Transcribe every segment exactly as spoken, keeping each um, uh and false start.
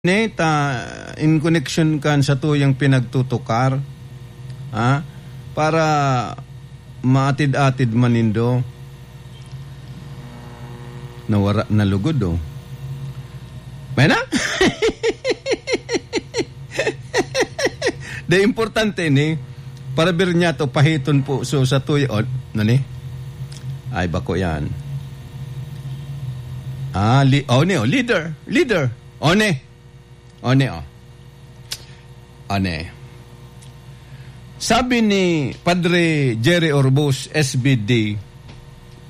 Neta, in connection kan satuyang pinagtutukar, ha? Para maatid-atid man nindo. Nawara na lugod, oh. May na? De, importante ni, para bir niya to, pahiton po. So, satuya, oh, nani? Ay, bako yan. Ah, li-, oh, ni, oh, leader, leader. Oh, ni. One, oh. One. Sabi ni Padre Jerry Orbus, S B D,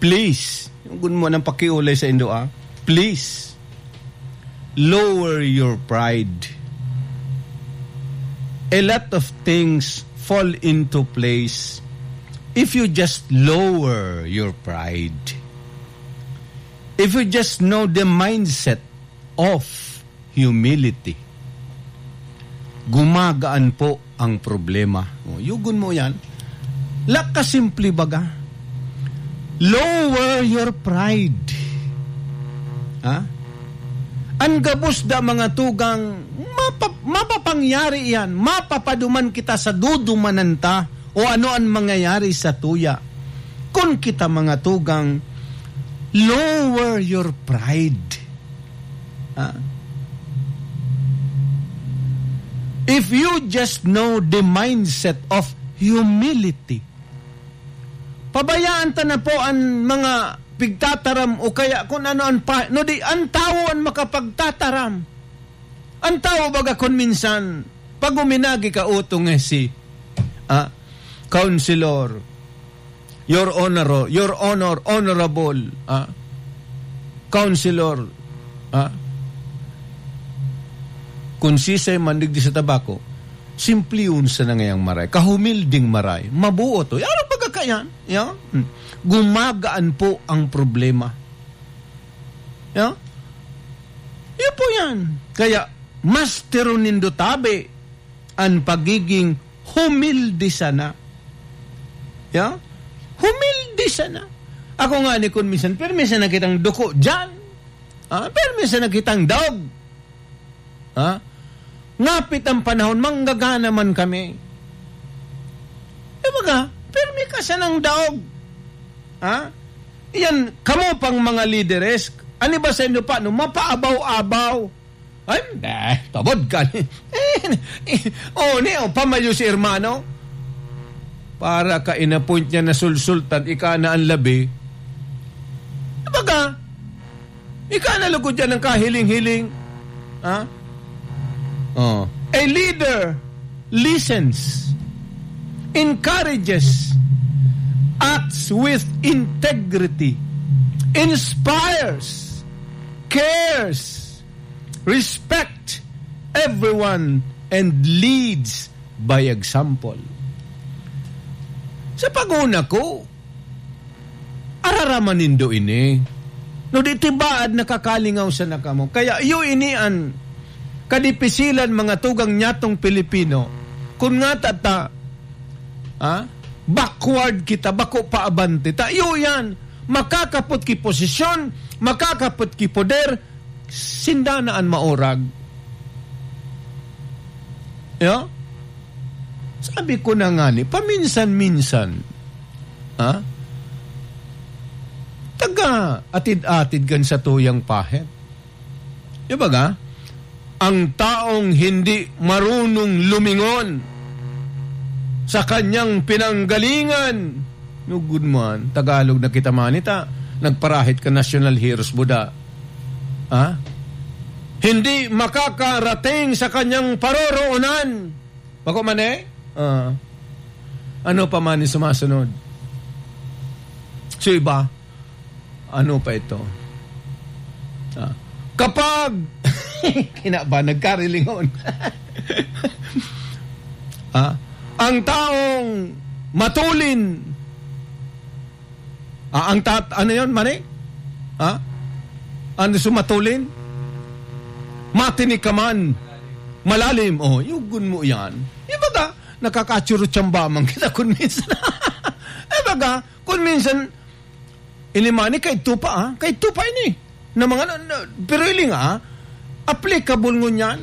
"Please," yung gun mo nang pakiulay sa indo, ah, "please, lower your pride. A lot of things fall into place if you just lower your pride. If you just know the mindset of humility, gumagaan po ang problema." O, yugon mo yan. Lakasimple baga. Lower your pride. Ha? An gabos da, mga tugang, mapa-, mapapangyari yan. Mapapaduman kita sa dudumanan ta o ano an mangyayari sa tuya. Kun kita, mga tugang, lower your pride. Ha? If you just know the mindset of humility, pabayaan ta na po an mga pigtataram o kaya kun ano an pa-, no di, an tawo an makapagtataram. An tawo baga kun minsan, pag uminagi ka, utong eh si, ah, Councilor, Your Honor, Your Honor, Honorable, ah, Councilor, ah, kun sisay man digdi sa tabako, simplihon sa nangayang maray, kahumilding maray, mabuot, oh. Ano pagkakayan? Yeah? Hmm. Gumagaan po ang problema. Yeah? Yun po yan. Kaya, mas tiro nindo tabi an pagiging humilde sana. Ya? Humilde sana. Ako nga ni kun minsan, pero minsan nakitang duko dyan. Ah, pero minsan nakitang daog. Ha? Ngapit ang panahon, manggagana man kami. E baga, pero may kasanang daog. Ha? Yan, kamo pang mga lideres, ani ba sa inyo pa, no? Mapaabaw-abaw. Ay, eh, tabod ka. Eh, eh, oh, ni, oh, pamayo si hermano. Para ka in-appoint niya na sulsultan, ika na ang labi. Baga, ika na lugod yan ang kahiling-hiling. Ha? Oh. A leader listens, encourages, acts with integrity, inspires, cares, respect everyone, and leads by example. Sa pag-una ko, araraman nindo ini. No, di tibaad nakakalingaw sana kamo. Kaya iyo ini an kadipisilan, mga tugang nyatong Pilipino. Kun nga tata, ah, backward kita, bako pa abante ta. Iyo yan, makakapot ki posisyon, makakapot ki poder, sinda na an maurag. Ya? Sabi ko na nga ni, paminsan-minsan, ha? Taga atid-atid kan satuyang pahit. Di ba ga? Ang taong hindi marunong lumingon sa kanyang pinanggalingan, no, good man, Tagalog na kita manita, nagparahit ka national heroes, buda. Ha? Hindi makakarating sa kanyang paroroonan. Bako man eh? Ah. Ano pa man yung sumasunod? So iba, ano pa ito? Ah. Kapag, kinaba, nagkarilingon. Ah, ang taong matulin, ah, ang tat-, ano yun, mani? Ha? Ano sumatulin? Matinik ka man. Malalim. Oh, yugon mo yan. Di ba ka? Nakakatsuro-tsamba man kita kun minsan. Di ba ka? Kun minsan, ini mani, kaidto pa, ah. Kaidto pa ini. Na mga, na, na, pero ili nga, ah. Applicable ngunyan